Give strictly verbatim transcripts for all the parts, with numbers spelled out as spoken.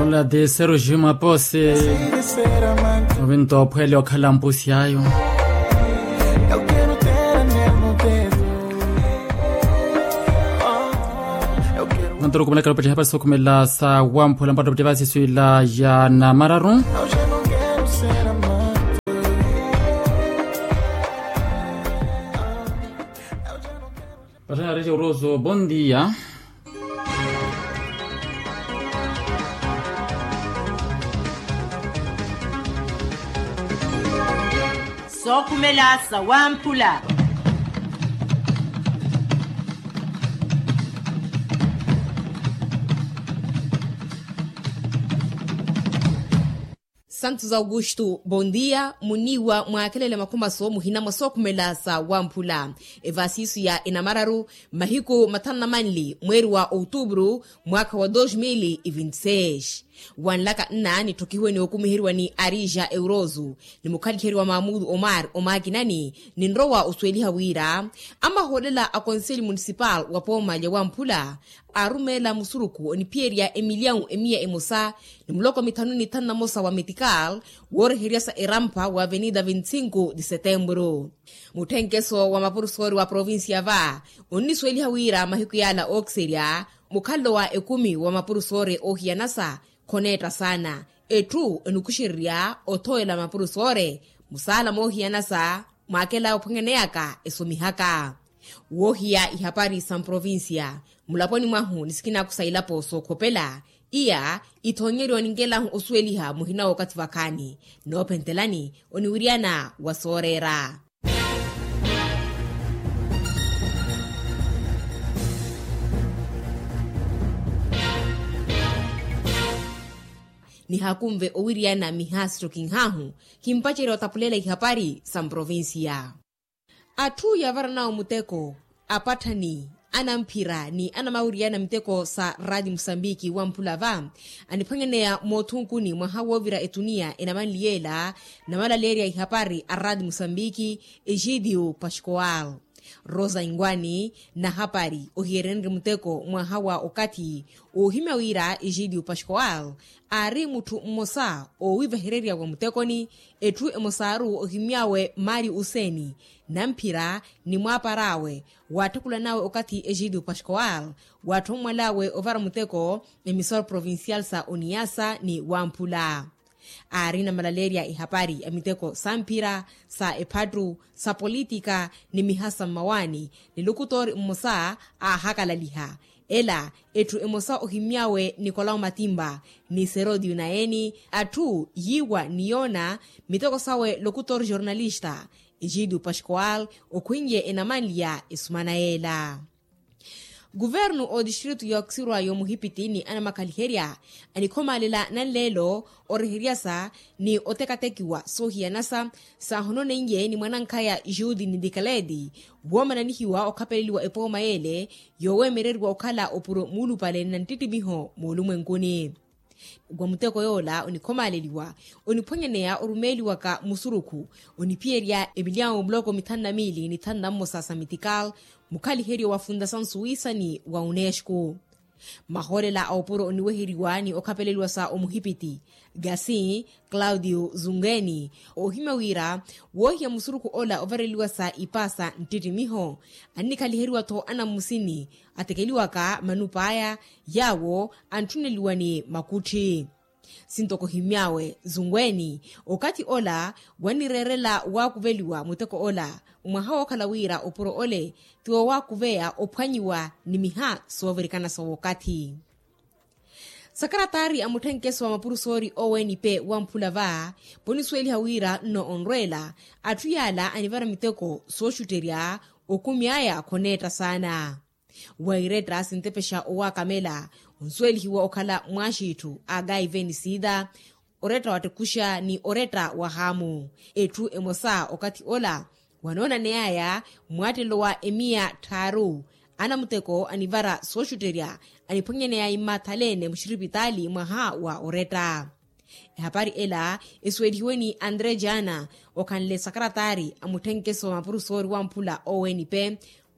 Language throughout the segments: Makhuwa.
Ola ti seruji mapose. Ovinto ophwele okhala mpusi ayo. Mantoro kumelaka lopettiha pasi okhumela sa wamphula mpatto pttipa siswila ya namararu. Patthana reja uroso bondia. Sookhumela sa wamphula. Santos augusto bondia muniiwa mwaakelele makhumaso muhina mwa sookhumela sa wamphula. Evasisu ya enamararu mahiku mathanu na manli mweeri wa outubru mwaakha wa dos mil e vinti seis. Wanlaka nna nitthokihiwe ni okumiheriwa ni arija euroso ni mukhaliheri wa mamudu omar omaakinani, ninrowa osuweliha wira amahoolela a konseli munisipal wa pooma lya wamphula aarumeela musurukhu oniphiyerya emilyawu emiya emosa ni muloko mithanu ni thanu na mosa wa metikal wooreheryasa erampha wa avenida vinti sinku de setembro. Mutthenkeso wa mapurusoori wa provincia va onnisuweliha wira mahiku yaala ookiserya mukhalelo wa ekumi wa mapurusoori oohiyanasa khoneetta saana. Etthu enikuxererya othowela mapurusoori musaala moohiyanasa mwaakela ophwanyaneyaka esomihaka. Woohiya ihapari sa mprovincia mulaponi mwahu ni sikinaku sa ilapo sookhopela iya ithoonyeriwa oninkelahu osuweliha muhina wookathi vakhaani noophentelani oniwiryana wa sooreera. Nihakunve owiryana mihaasitto kinhaahu kimpacerya otapulela ihapari sa mprovincia. Atthu yaavaranawo muteko apatthani anamphira ni anamawiriyana miteko sa radi musambiki wamphula va aniphwanyaneya moothunkuni mwaha woovira etuniya enamanliyeela namalaleerya ihapari a radi musambiki egidio pascoal rosa ingwani nahapari ohiyerenrye muteko mwaha wa okathi woohimya wira egidio pascoal aari mutthu mmosa oowivahererya wa muttekoni. Etthu emosaaru ohimy'awe mario useni namphira ni mwaapar'awe waatthakula nawe okathi egidio pascoal waatthonwal'awe ovara muteko emisor provincial sa oniyasa ni wamphula aarina malaleerya ihapari a miteko sa mphira sa ephattu sa politika ni mihasa mmawaani ni lukutoori mmosa aahakalaliha ela etthu emosa ohimy'awe nikolau matimba ni serodio naye-ni atthu yiiwa ni yoona miteko sawe lokutor jornalista egidio pascoal okhwinye enamanlya esumana yeela. Kuvernu otistritu yookisirwa yomuhipiti ni anamakhaliherya anikhomaalela nanleelo oreheryasa ni otekatekiwa soohiyanasa saahononeiye ni mwanankhaya jude ni dikaleti woomananihiwa okhapeleliwa epooma yeele yooweemereriwa okhala opuro muulupale na nttittimiho moolumwenkuni. Wa muteko yoola onikhomaaleliwa oniphwanyaneya orumeeliwaka musurukhu oniphiyerya emilyawo muloko mithanu na miili ni thanu na mmosa sa mitikal mukhaliheryo wa fundasawn suwisa ni wa unesco. Mahoolela a opuro oniweheriwa ni okhapeleliwa sa omuhipiti gasi claudio zungeni oohimya wira woohiya musurukhu ola ovareliwa sa ipaasa nttittimiho annikhaliheryiwa-tho anammusini atekeliwaka manup'aya yaawo antthuneliwa ni makutthi. Sintoko ohimy'awe zungweni okathi ola wannireerela waakuveliwa muteko ola mwaha wookhala wira opuro ole ti wowaakuveya ophwanyiwa ni miha soovirikana sa wookathi. Sakaratari a mutthenkeso wa mapurusoori owenp wamphula va ponisuweliha wira nno onrweela atthu yaala anivara miteko sooxutterya okumi aya khoneetta saana. Wairetta sintepexa owaakamela onsuwelihiwa okhala mwaaxiitthu a gaiven sida oretta wa tekuxa ni oretta wa haamu. Etthu emosa okathi ola wanoonaney'aya mwaattelo wa emiya tthaaru anamuteko anivara sooxutterya aniphwanyaneya immathaleene muxiripitaali mwaha wa oretta. Ehapari ela esuwelihiwe ni andre jana okhanle sakaratari a mutthenkeso wa mapurusoori wamphula owenp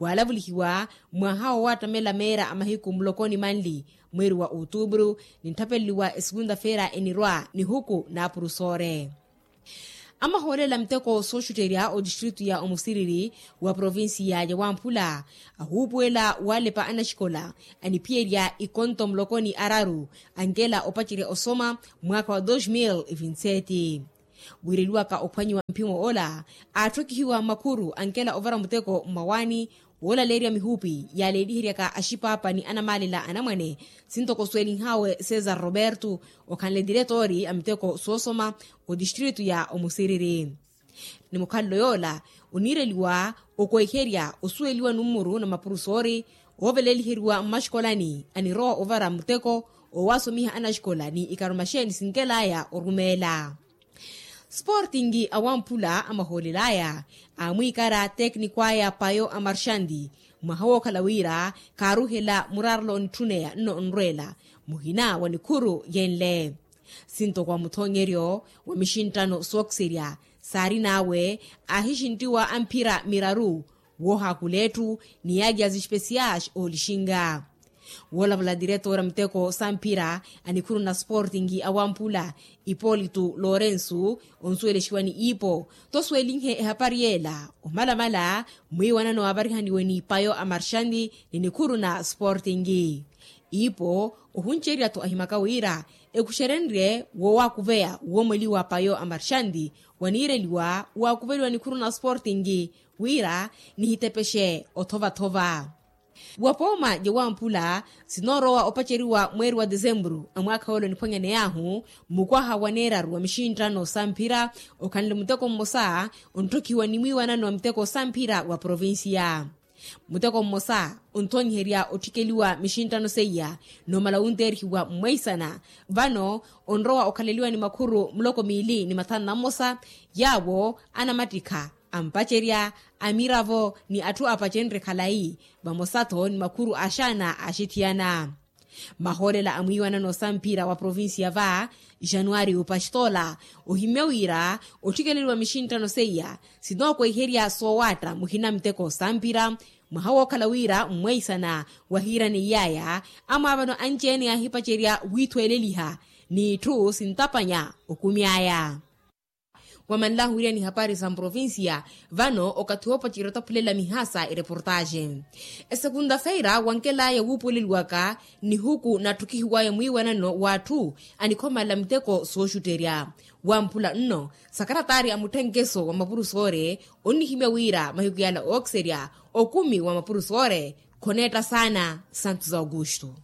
waalavulihiwa mwaha wo waattamela meera a mahiku muloko ni manli mweeri wa outubru, nintthapeleliwa esukunta-feera enirwa nihuku n'apurusoore. Amahoolela muteko sooxutterya otistritu ya omusiriri wa provincia ya wamphula ahuupuwela waalepa anaxikola aniphiyerya ikonto muloko ni araru ankela opacerya osoma mwaakha wa dos mil vinti-seti. Wiireliwaka ophwanyiwa mphimo ola aatthokihiwa makhuru ankela ovara muteko mmawaani woolaleerya mihupi yaaleeliheryaka axipaapa ni anamaalela anamwane, sintoko suwelinhawe cesar roberto okhanle tiretori a miteko soosoma otistritu ya omusiriri. Ni mukhalelo yoola oniireliwa okweherya osuweliwa nummuru na mapurusoori ooveleliheriwa mmaxikolani anirowa ovara muteko owaasomiha anaxikola ni ikarumaxeeni sinkelaya orumeela. Sportingi awamphula amahoolelaya aamwiikara tekniko aya payo a marxanti mwaha wookhala wira kaaruhela muraarelo onitthunneya nno onrweela muhina wa nikhuru yenle. Sintoko wa muthoonyeryo wa mixintthano sookiserya saarin'awe aahixinttiwa amphira miraru woohaakuletthu ni yaakya zespesiyaxi oolixinga. Woolavala tiretora muteko samphira a nikhuru na sportingi awamphula ipolitu lorensu onsuwelexiwa ni ipo tosuwelinhe ehapari yeela omalamala mwiiwanano aavarihaniwe n'ipayo a marxanti ni nikhuru na sportingi. Ipo ohuncerya-tho ahimaka wira ekuxerenrye woowakuveya woomoliwa payo a marxanti waniireliwa waakuveliwa nikhuru na sportingi wira nihitepexe othova-thova. Wapooma jewamphula sinoorowa opaceriwa mweeri wa desemburu a mwaakha w'ole oniphwanyaney'ahu mmukwaha wa neeraru wa mixintthano samphira okhanle muteko mmosa ontthokihiwa ni mwiiwanano wa miteko samphira wa provincia. Muteko mmosa onthoonyiherya otthikeliwa mixintthano seiya noomala wunteerihiwa mmweisana vano onrowa okhaleliwa ni makhuru muloko miili ni mathanu na mmosa yaawo anamattikha ampacerya amiravo ni atthu aapacenrye khalayi vamosa-tho ni makhuru aaxaana aaxithiyana. Mahoolela a mwiiwanano samphira wa provincia va januari opastola ohimmye wira otthikeliwa mixintthano seiya sinookweherya soowaatta muhina miteko samphira mwaha wookhala wira mmweisana wahiirana iyaya amwaavano anci-ene aahipacerya wiithweeleliha n'itthu sintapanya okumi aya. Wamanlahu wiriya ni hapari sa mprovincia vano okathi woopacerya otaphulela mihasa ereportaxe. Esekunta-feira wankelaya wuupuweleliwaka nihuku natthukihiwaya mwiiwanano w'atthu anikhomala miteko sooxutterya wamphula nno sakaratari a mutthenkeso wa mapurusoore onnihimya wira mahiku yala ookiserya okumi wa mapurusoore khoneetta saana. Santos augusto.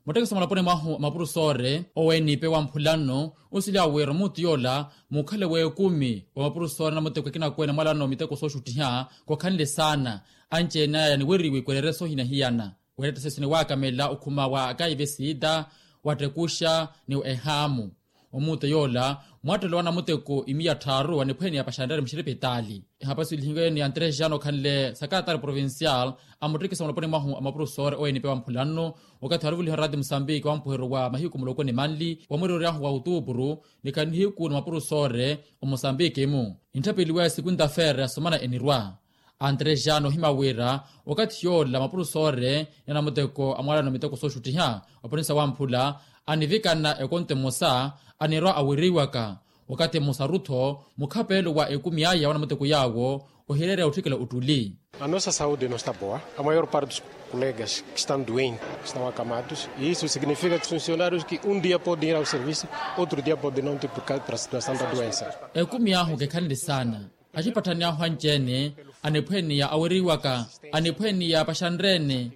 Muttekiso mulaponi mwahu a mapurusoore owenipe wamphula nno osiliwa wira omuutu yoola mukhale w'ekumi wa mapurusoore na muteko ekinakweene mwalano miteko sooxuttiha khokhanle saana. Anci-ene aya niweriwe ikwerere soohina hiyana weerettesesi ni waakamela okhuma wa akaive siita wattekuxa ni ehaamu. Omuutu yoola mwattelelo wa namuteko imiya tthaaru aniphwene ya paxanrere muxiripitaali. Ehapari suwelihiwe ni antrejano okhanle sakaratari provincial a muttekisa muloponi mwahu a mapurusoore owenipe wamphula nno okathi aruvuliha oraati musambiki wampuheryo wa mahiku muloko ni manli wa mwiriroryahu wa otupuru ni khanihiku ni mapurusoore omusambiki-mu. Nitthapeliwa esikunta-feera yasomana enirwa antrejano ohima wira okathi yoola mapurusoore ni anamuteko a mwalano miteko sooxuttiha oponisa wamphula anivikana ekonto emosa anirwa aweriwaka wakathi mmosaru-tho mukhapeelo wa ekumi aya wa namuteko yaawo ohireerya otthikela ottuli. A nossa saude no sta boa a maior parte dos colegas que estão doentes estão acamados e isso significa que os funcionários que um dia podem ir ao serviço outro dia podem não ter por causa da situação da doença. Ekumi ahu kekhanle saana axipatthani ahu anci-ene aniphweniya aweriwaka aniphweniya paxanrene.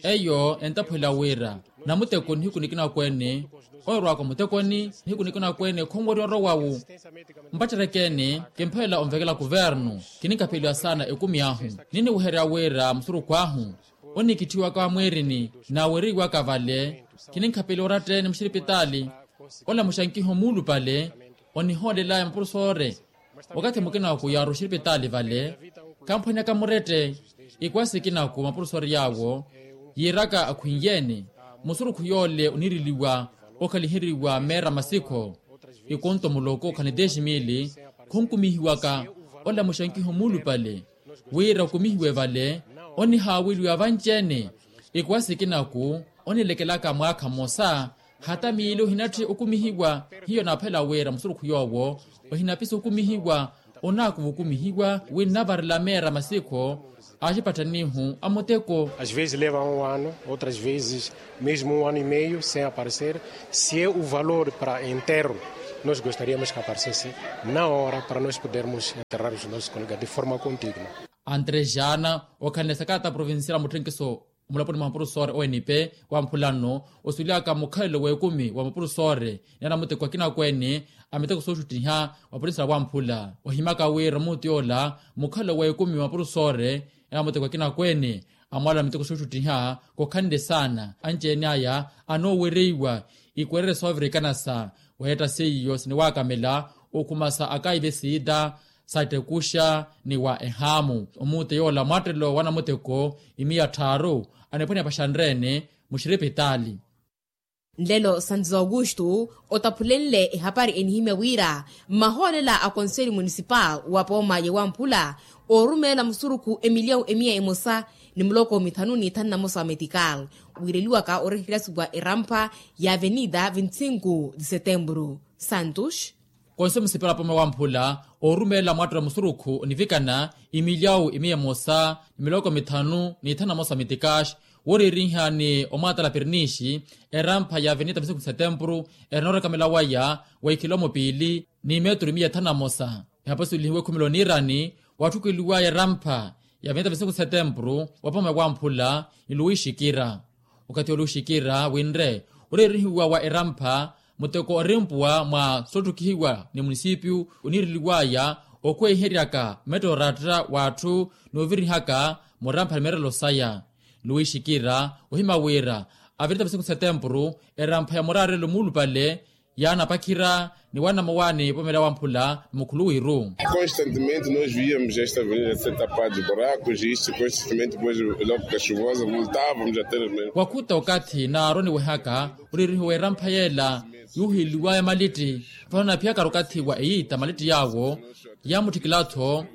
Eyo entaphwela wira namuteko nihiku nikinakweene owerowaka omutekoni nihiku nikinakweene khonwerya orowawu. Mpatterekeene kimphelela onvekela kuvernu kininkapheliwa saana ekumi ahu niniweherya wira musurukhu ahu onikitthiwaka wa mwiirini naaweriwaka vale kininkapheliwa oratta-ene muxiripitaali. Olamuxa nkiho muulupale onihoolelaya mapurusoore wakathi mukina wa kuyaara oxiripitaali vale khamphwaneyaka murette. Ikwasi ikinaku mapurusoori yaawo yiiraka akhwinyeene musurukhu yoole oniiriliwa okhaliheriwa meera masikho ikonto muloko khani dez mil khonkumihiwaka. Olamuxa nkiho muulupale wira okumihiwe vale onihaaweliwa vanci-ene ikwasi ikinaku Onilekelaka mwaakha mmosa hata miili ohinatthi okumihiwa. Hiyo naaphela wira musurukhu yoowo ohinapisa okumihiwa. Onaakuva okumihiwa wi nnavarela meera masikho aaxipattanihu a muteko. Às vezes leva um ano, outras vezes mesmo um ano e meio sem aparecer. Se é o valor para enterro, nós gostaríamos que aparecesse na hora para nós podermos enterrar os nossos colegas de forma condigna. Andre jana okhanle sakata provincial a mutthenkiso omulaponi mwa mapurusore o n p wamphula nno osulyaka mukhalelo w'ekumi wa mapurusore ni anamuteko akina akweene a miteko sooxuttiha wa purinsila wamphula ohimaka wira muutu yoola mukhalelo w'ekumi wa mapurusore ni anamuteko akina akweene amwaala a miteko sooxuttiha khokhanle saana anci-ene aya anoowereiwa ikwerere soovirikana sa weetta seiyo siniwaakamela okhumasa akaive siita sa ettekuxa ni wa ehaamu omuute yoola mwattelo wa namuteko imiya tthaaru aniphwanya paxanreene muxiripitaali. Nlelo santos augusto otaphulenle ehapari enihimya wira mmahoolela a konseli munisipal wa pooma ya wamphula oorumeela musurukhu emilyawu emiya emosa ni muloko mithanu n'ithanu na mosa wa metikal wiireliwaka oreherya suwa erampha ya avenida veinticinco de setembro. Santos. Konse musipela pome wamphula oorumelela mwattela musurukhu onivikana imilyawu imiya emosa ni miloko mithanu n'ithanu na mosa mitikaxi wooriiriha ni omwaatala pirinixi erampha ya avenida veinticinco de setembro erina orekamela waya wa ikhilomo piili ni meturu imiya ithanu na mosa. Ehaposulihiwe ekhumelo niirani watthukeliwaya erampha ya avenida veinticinco de setembro wa pome wamphula ni luwi xikira. Okathi oluxikira winre oreerihiwa wa erampha muteko orimpuwa mwa sotthukihiwa ni munisipiyu oniireliwaya okhwehiheryaka metto oratta w'atthu n'ovirihaka murampha ni meerelo saya. Luwi xikira ohima wira avirita vesiku setempuru erampha ya muraarelo muulupale yaanapakhira ni wanamawaani pomela wamphula mukhuluwiru. Constantemente nós viamos esta avenida ser tapada de buracos e isto constantemente depois logo que chuvosa voltávamos a ter. Wakhuta okathi naaroniwehaka olirihiwa erampha yeela yuuhiliwaya malitti vano naphiyakari okathi wa eyiita malitti yaawo yaamutthikila-tho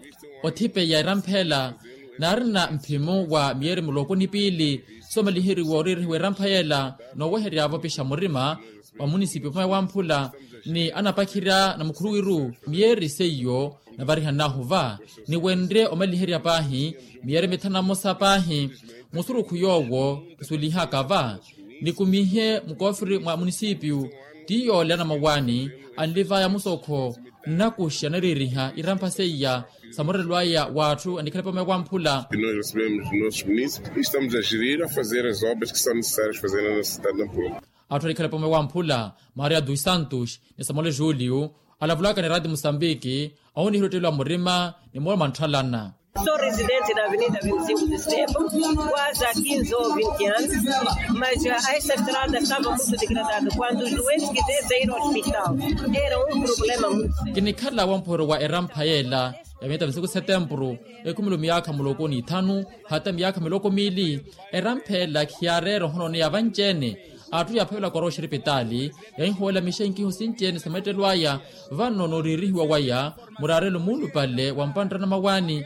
othipeya erampha ela. Naarina mphimu wa miyeeri muloko ni piili soomaliheriwa oririhiwa erampha yeela nooweheryavo opixa murima wa munisipi opamaya wamphula ni anapakhirya na mukhuluwiru miyeeri seiyo navarihanahu va ni wenrye omaliherya paahi miyeeri mithanu na mmosa paahi musurukhu yoowo khusulihaka va nikumihe mukoofiri mwa munisipiyu. Ti yoole anamawaani anlivaya musokho nnakuxa nariiriha irampha seiya sa murelwaya w'atthu anikhale pamaya wamphula. Nós recebemos nossos munícipes e estamos a gerir a fazer as obras que são necessárias fazer na nossa cidade de nampula. Atthu anikhale pamaya wamphula maria dos santos ni samuel julio alavulaka ni raati musambiki ahunihira ottelwa murima ni moolo mwa ntthalana. Sou residente da avenida vinte e cinco de setembro quase há quinze ou vinte anos, mas a esta estrada estava muito degradada quando os doentes que devem ir ao hospital era um problema muito sério. Kinikhala wamphoro wa erampha yeela ya mita misiku setempuru ekhumelo miyaakha muloko ni ithanu hata miyaakha miloko miili. Erampha ela khiyaareera ohononeya vanci-ene atthu yaaphavelaka orooxa eripitaali yaahihoolela mixenkiho sinci-ene sa meettelo aya. Vano nooriirihiwa waya muraarelo muulupale wa mpanttana mawaani.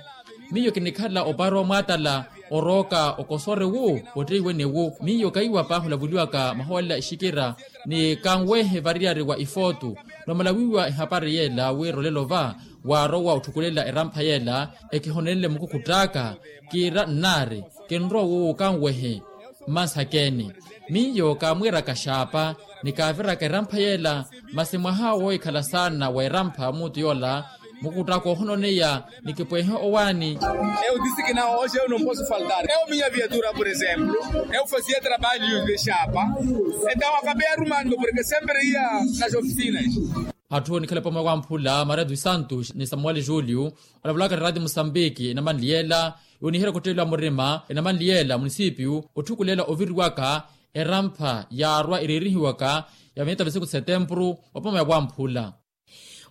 Miyo kinikhala opaari omwaatala orooka okosore wu otteiwene wu miyo kaiwa paahi olavuliwaka mahoolela exikira ni kanwehe variyari wa ifootu. Nomala wiiwa ehapari yeela wira olelo va waarowa otthukulela erampha yeela ekihonenle mukukhutt'aka kiira nnaari kinrowa owo kanwehe. Mmansakeeni miyo kaamwiiraka xaapa ni kaaviraka erampha yeela. Masi mwaha woohikhala saana wa erampha muutu yoola mukutt'aka ohononeya ni kipwehe owaani. Eu disse que não hoje eu não posso faltar eu minha viatura por exemplo eu fazia trabalho de chapa. Então acabei arrumando porque sempre ia nas oficinas. Atthu onikhale pamwe wamphula maria dos santos ni samuel julio alavulaka ni raati musambiki enamanli yeela yooniherya kottelwa murima enamanli yeela munisipiyu otthukulela oviriwaka erampha yaarwa ereerihiwaka ya mita misiku setempuru opamaya wamphula.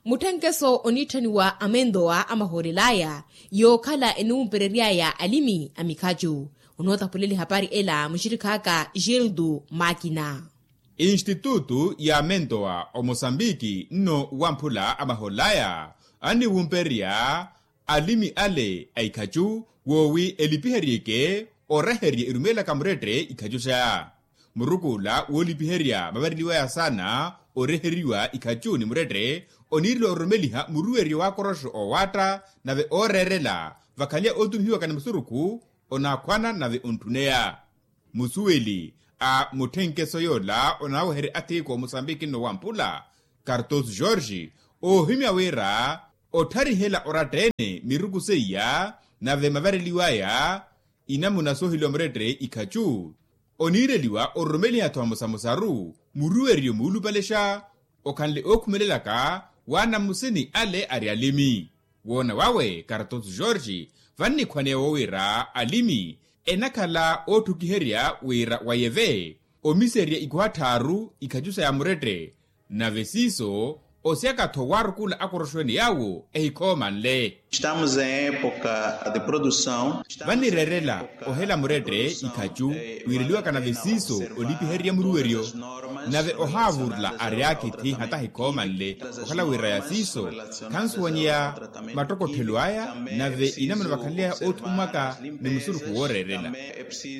Mutthenkeso oniitthaniwa amentowa amahoolel'aya yookhala eniwumperery'aya alimi a mikhacu. Onootaphulela ehapari ela muxirikhaaka gildo makina. Institutu ya amentowa omosambiki nno wamphula amahoolel'aya anniwumpererya alimi ale a ikhacu woowi elipiheryeke oreherye erumeelaka murette ikhacu xa. Muruku ola woolipiherya mavareliwaya saana oreheriwa ikhacu ni murette oniirela ororomeliha muruweryo w'akoroxo oowaatta nave ooreerela vakhale ootumihiwaka ni musurukhu onaakhwana nave ontthuneya. Musuweli a mutthenkeso yoola onaaweherya athiikwa omusambiki nno wamphula kartos jorge oohimya wira ottharihela oratta-ene miruku seiya nave mavareliwaya inamuna sooheliwa murette ikhacu oniireliwa ororomeliha-tho vamosamosaru muruweryo muulupalexa okhanle ookhumelelaka waanamusini ale ari alimi. Woona wawe kartos jorge vannikhwaneya woowira alimi enakhala ootthukiherya wira wayeve omiserya ikuha tthaaru ikhacu saya murette nave siiso osiyaka-tho waarukula akoroxo-ene yaawo ehikhoomanle. Estamos em época de produção. Vanireerela ohela murette ikhacu wiireliwaka nave siiso olipiherya muruweryo nave ohaavurula ary'akithi hata hikhoomanle okhala wira ya siiso khansuwanyeya mattokothelo aya nave inamuna vakhanly'aya oothummwaka ni musurukhu wooreerela.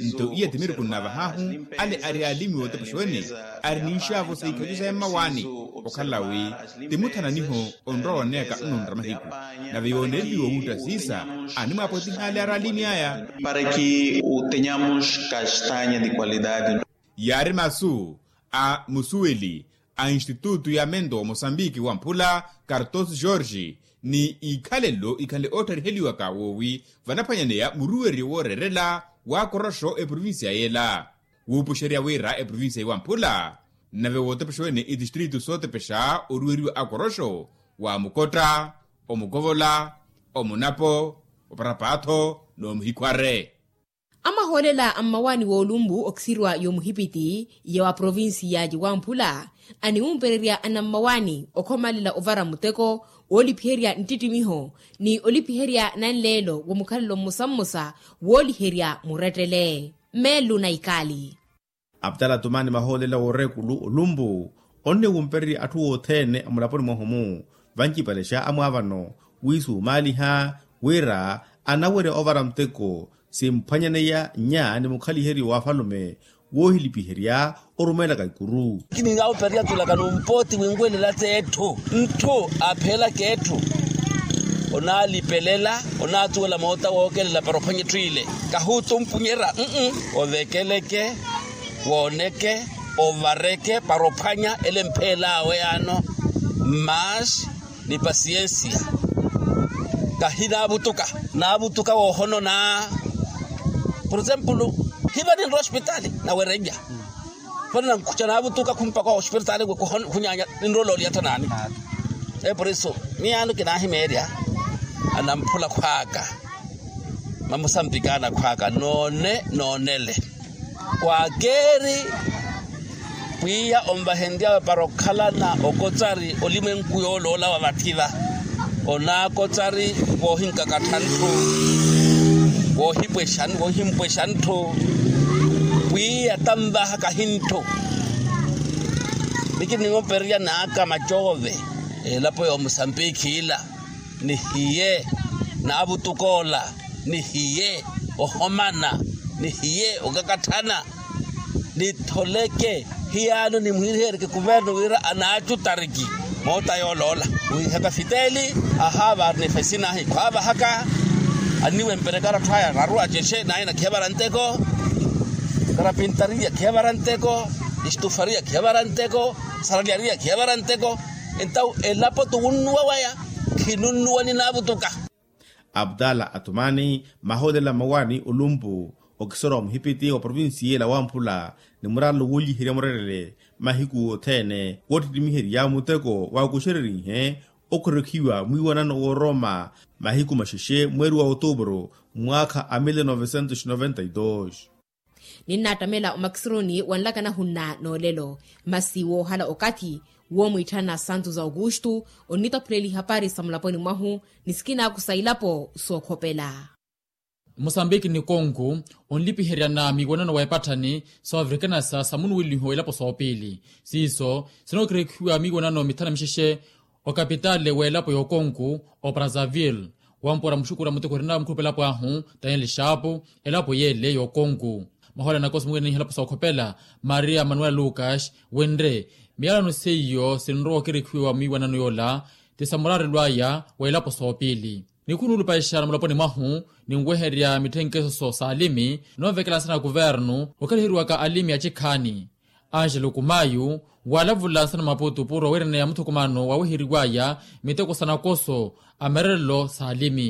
Nto iya ti miruku nnavahaahu ale ari alimi wootepexa-ene ari n'ixaavo sa ikhacu saya mmawaani okhala wi ti muthananiho onrowa oneyaka nnunra mahiku nave yooneliwa owuutta siisa animwaapwetiha ale ari alimi aya. Para que tenhamos castanha de qualidade. Yaari masu a musuweli a institutu ya mento wa mosambiki wamphula kartos jorge ni ikhalelo ikhanle oottariheliwaka woowi vanaphwanyaneya muruweryo wooreerela w'akoroxo eprovincia yela wuupuxerya wira eprovincia iwamphula nave wootepexa-ene itistritu sootepexa oruweriwa akoroxo wa mukotta omukovola omunapo oparapatho n'omuhikhware. Amahoolela a mmawaani w'olumbu okisiriwa y'omuhipiti ya wa provinsi ya ciwamphula aniwumpererya anammawaani okhomalela ovara muteko woolipiherya nttittimiho ni olipiherya nanleelo wa mukhalelo mmosa mmosa wooliherya murettele. Meelu na ikaali. Aptala tumani mahoolela w'oreekulu olumpu onniwumpererya atthu othene amulaponi mwahu-mu vancipalexa amwaavano wiisumaaliha wira anawerya ovara muteko simphwanyaneya nya ni mukhaliheryo w'afalume woohilipiherya orumeelaka ikuru. Kininawupererya tulaka numpooti winwelela t'etthu ntthu apheelaka etthu onaalipelela onaatuwela moota wookelela para ophwanya etthu ile kahuutumpunyerya. Ovekeleke wooneke ovareke para ophwanya ele mpheel'awe yaano. Mas ni pasiensia kahinaavutuka naavutuka woohonona. Por exemplo hiva ninrowa ospitali nawerennya vano nankhuca naavutuka khumpaka ospitali khunyaanya ninrowa ololiyattha naani. Por eso miyaano kinaahimeerya anamphula khwaaka mamusambikana khwaaka noone noonele. Kwaakeeri pwiya onvahenryawe para okhalana okotsari olimwenku yooloola wa vatthi va onaakotsari voohinkakattha ntthu voohipwexa voohimpwexa ntthu pwiya tanvaha kahi ntthu. Nikiniwopererya naaka macoove elapo y'omusambikhi ila nihiye naavutuk'ola nihiye ohomana nihiye okakatthana nitholeke hiyaano nimwiirihereke kuverno wira anaacutariki moota yooloola wiihaka fiteli ahaavaari nifesinahi khwaavahaka anniwemperya karatthu aya raru acexe naye nakhevara nteko karapintariya khevara nteko istufariya khevara nteko saralyariya khevara nteko entawu elapo tuwunnuwa waya khinunnuwa ninaavutuka. Abdala atumani mahoolela mmawaani olumpu okisera wa muhipiti wa provinsi yela wamphula ni muraalo wooliherya murerele mahiku othene woottittimiherya muteko waakuxererihe okhorokhiwa mwiiwanano wooroma mahiku maxexe mweeri wa otuupuru mwaakha a mille novecentos noventa y dos. Ninnattamela omakisironi wanlaka nahunna noolelo masi woohala okathi woomwiitthana santos augusto onnitaphuleli hapari sa mulaponi mwahu ni sikinaaku sa ilapo sookhopela. Musambiki ni konku onlipiheryana miiwanano wa epatthani soovirikana sa samunuweliho elapo soopiili siiso sinookirekhiwa miiwanano mithanu mixexe okapitaale w'elapo y'okonku o brazzaville wampora muxukuru a muteko erina mukhulupelapo ahu daniel xaapu elapo yeele y'okonku Mahola nakoso muwiraniha elapo sookhopela maria manuela lucas wenre miyalano seiyo sinrowa okirikhiwa mwiiwanano yoola ti samuraarelo aya wa elapo soopiili. Nikhunuulupaixa na muloponi mwahu ninweherya mitthenkesoso s'alimi noovekela nsana a kuvernu okhaliheryiwaka alimi acikhaani. Angelo kumayu waalavula nsana maputu puro awereneya muthukumano waweheriwaya miteko sa nakoso a merelelo s'alimi.